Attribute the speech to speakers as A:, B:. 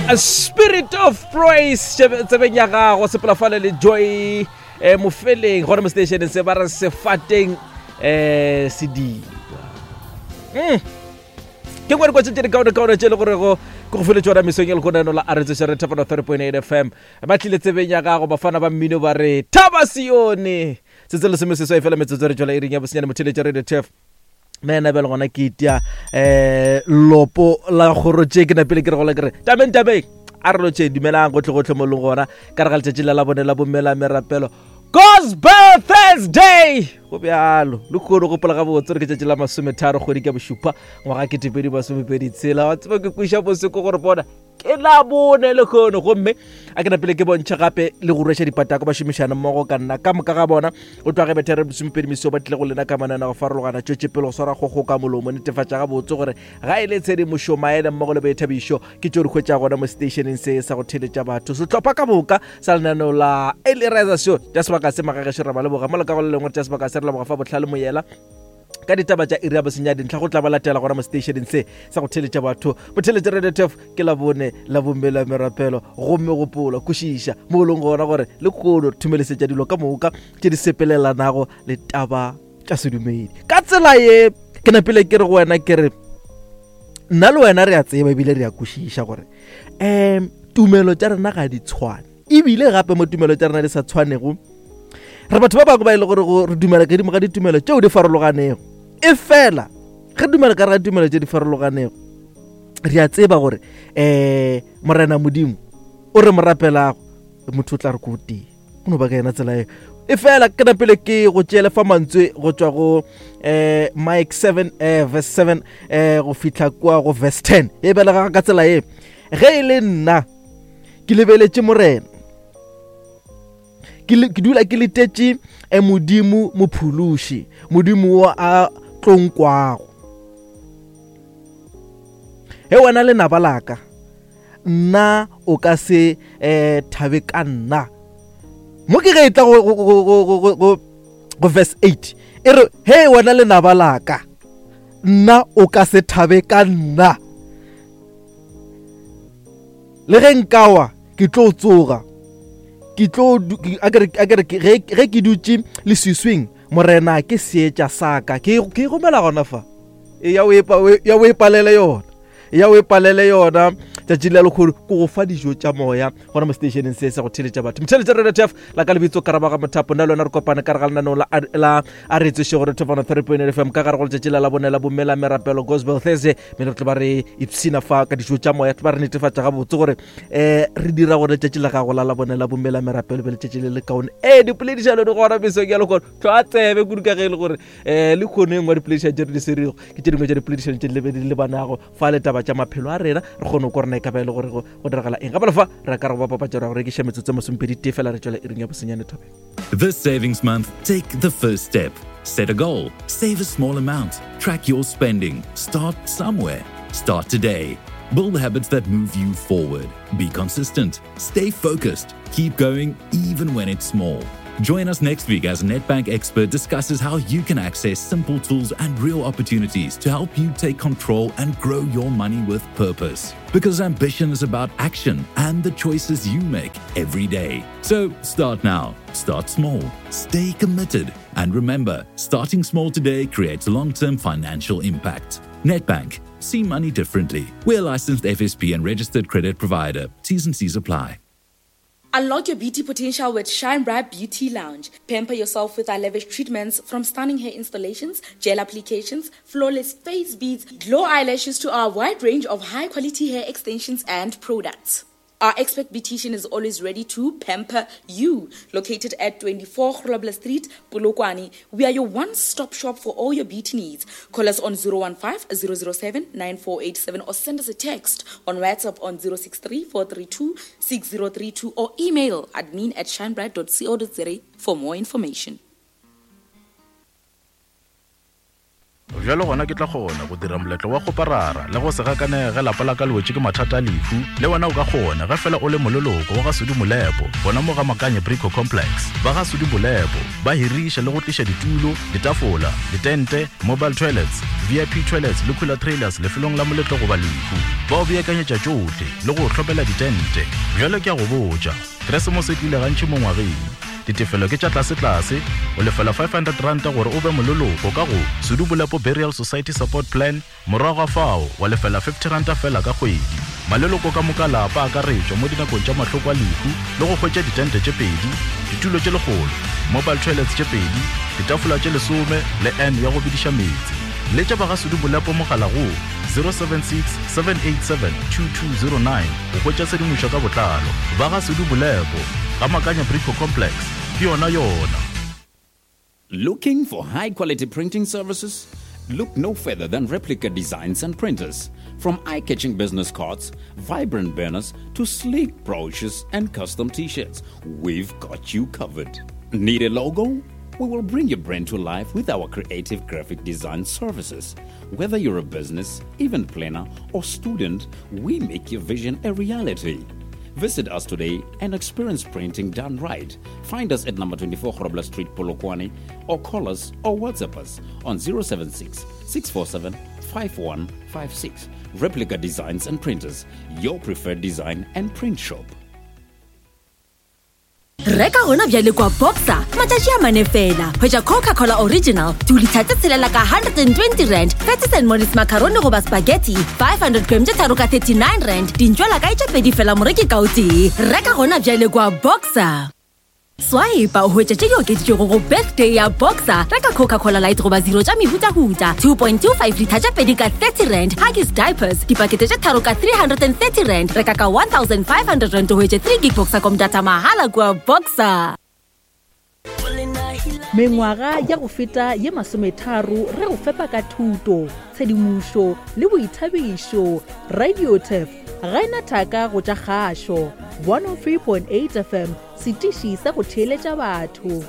A: A spirit of praise tsebeng ya gago sepela fale le joy eh, mofeleng gona mo stationeng se ba re sefateng eh, sediba mm. ke ngwe dikotse tše dikaonekaone tše e le gorego ke go file tšona mesong e lekonano la aretsoša re thapana 3.8 fm ba tlile tsebeng ya gago bafana ba mmino ba re thaba sione se tse lesome seswai fela metsotso re tšwela iring ya bosenyane motheletša radio tf nna ena bjale gona ke itia um lopo la kgoro tše ke napele ke re gola ke re tabeng tabeng a re lotše dumelang gotlhe-gotlhe mo leng gona ka re ga letšatši la la bone la bommela merapelo gospel thursday go bjalo le kgone gopola gabotse gore ke tšatši la masometharo kgwedi ka bošupa ngwaga ketepedi masomepedi tshela wa tseba ke kweša boseko gore bona ke la bone le kgono gomme a ke napele ke bontšhe gape le go rweša dipatako ba šomišana mmogo ka nna ka moka ga bona o tloga ge bethere lesomepedi meso ba tlile go lena ka manana go farologana tšwetše pele go swara kgogo ka molomo netefatša gabotse gore ga e le tshedimošo maele mmogo le boithabišo ke tšeo di hwetša gona mo stationeng se sa go theletša batho sehlopha ka moka sa lenaneo la elirization tša sebaka se magagešo ra ba leboga mo le ka go le lengwe tša sebaka se re leboga fa bohlale moyela ka ditaba tša iri ya bosenya dintlha go tla ba latela gona mo stationeng se sa go theletša batho botheletša radio tef ke la bone la bomme la merapelo gomme gopola kwešiša mo e leng gona gore le kgono thumelesetša dilo ka moka tše di sepelelanago le taba tša sedumedi ka tsela ye ke napile ke re go wena ke re nna le wena re a tseba ebile re a kwešiša gore um tumelo tša rena ga di tshwane ebile gape mo tumelo tša rena di sa tshwanego re batho ba bangwe ba e le gore re dumela kadimo ga ditumelo tšeo di farologanego e fela ge dumela ka re ga ditumelo tše di farologanego re a tseba gore um morena modimo o re mo rapelago motho o tla re ko tee go no ba ka yena tsela eo e fela ke napele ke go tšeele fa mantswe go tšwa go um mike 7 um verse 7 um go fihla kua go verse 10 e belega ka tsela ye ge e le nna ke lebeletše morena ke dula ke letetše e modimo mophološi modimo wo a tlonkwago he wena lenaba laka nna o ka se um thabe ka nna mo ke ge e tla go verse 8 e re he wena lenaba laka nna o ka se thabe ka nna le ge nkawa ke tlo tsoga ke tlo a ke re ge ke dutše leswiswing morena ke seetša sa ka ke ke gomela gona fa e ya o e palele yona ya o e palele yona tšatši la lekgolo ko go fa dijo tša moya gona mo stationeng se sa go theletša batho motheletša radio tf la ka lebitso karabaga mothapo nna le wena re kopane ka re ga lenaneo la a re tsoše gore thofana 3.8 fm ka gare go letšatši la labone la bomme la merapelo gospel thursday mme re tlo ba re ipshina fa ka dijo tša moya tlo ba re netefatša gabotse gore um re dira gore letšatši la gago la labone la bomme la merapelo be letšatši le le kaone ee dipoledišano di gona mesong ya lekgono tlho a tsebe kudu ka ge e le gore um le kgono e nngwe dipoledišano tše re di swerego ke tše dingwe tša dipoledišano tše di lebanago fa le taba tša maphelo a rena re kgone go rena e ka ba e le gore go diragala eng gape le fa re ka re go ba papatša ra go rekiša metsotso e masomepedi tee fela re tšwela iring ya bosenyane thobeng
B: This savings month, take the first step. Set a goal, save a small amount, track your spending, start somewhere. Start today. Build habits that move you forward. Be consistent, stay focused, keep going even when it's small. Join us next week as Netbank expert discusses how you can access simple tools and real opportunities to help you take control and grow your money with purpose. Because ambition is about action and the choices you make every day. So start now, start small, stay committed, and remember starting small today creates long term financial impact. Netbank, see money differently. We're licensed FSP and registered credit provider. T's and C's apply.
C: Unlock your beauty potential with Shine Bright Beauty Lounge. Pamper yourself with our lavish treatments from stunning hair installations, gel applications, flawless face beads, glow eyelashes to our wide range of high quality hair extensions and products. Our expert beautician is always ready to pamper you. Located at 24 Grobler Street, Polokwane, we are your one-stop shop for all your beauty needs. Call us on 015 007 9487 or send us a text on WhatsApp on 063 432 6032 or email admin at shinebright.co.za for more information.
D: Bjalo gona ke tla kgona go dira moletlo wa kgoparara le go se gakanege ge lapa la ka le wetše ke mathata a lehu. Le wena o ka kgona ge fela o le moleloko wa ga Sudi Molepo gona mo ga Makanye Brico Complex. Ba ga Sudi Molepo ba hiriša le go tliša ditulo, ditafola, ditente, mobile toilets, VIP toilets le cooler trailers lefelong la moletlo goba lehu. Ba o beakanyetša tšohle le go o hlomela ditente. Bjalo ke a go botša, Keresemose e tlile gantši mo ngwageng. Ditefelo ke tša tlasetlase, o lefela R500 gore o be moleloko ka go Sedubolepo Burial Society Support Plan, morago ga fao wa lefela R50 feela ka kgwedi. Maleloko ka moka a lapa a akaretšwa mo dinakong tša mahloko a lehu le go hwetša ditente tše pedi, ditulo tše lekgolo, mobile toilets tše pedi, ditafola tše lesome le urn ya go bediša meetse. Letša ba ga Sedubolepo mogala go 076 787 2209 go hwetša tshedimošo ka botlalo. Ba ga Sedubolepo. Ga Makanya Brico Complex, ke yona yona.
E: Looking for high quality printing services? Look no further than Replica Designs and Printers. From eye catching business cards, vibrant banners, to sleek brochures and custom t shirts, we've got you covered. Need a logo? We will bring your brand to life with our creative graphic design services. Whether you're a business, event planner, or student, we make your vision a reality. Visit us today and experience printing done right. Find us at number 24 Grobler Street, Polokwane, or call us or WhatsApp us on 076 647 5156. Replica Designs and Printers, your preferred design and print shop.
F: Reka gona bjale kwa Boxer matšatši a mane fela. Hwetša Coca-Cola Original dilitha tse tshelela ka 120 rand, Patties and Mollies macaroni goba spaghetti 500 gram tše tharo ka 39 rand, dintšwela kae tše pedi fela moreki ka o tee. Reka gona bjale kwa Boxer. Swipe o hwetše tše di okeditšwego go birthday ya Boxer. Reka Coca-Cola Light goba Zero tša mehutahuta 2.25 litha tše pedi ka 30 rand, Huggies diapers dipakete tše tharo ka 330 rand. Reka ka 1500 rand o hwetše 3 gig Boxercom data mahala kua Boxer.
G: Mengwaga ya go feta ye masometharo re go fepa ka thuto, tshedimošo le boithabišo. Radiotef ga e na thaka go tša kgašo. 103.8 FM, setiši sa go theeletša batho.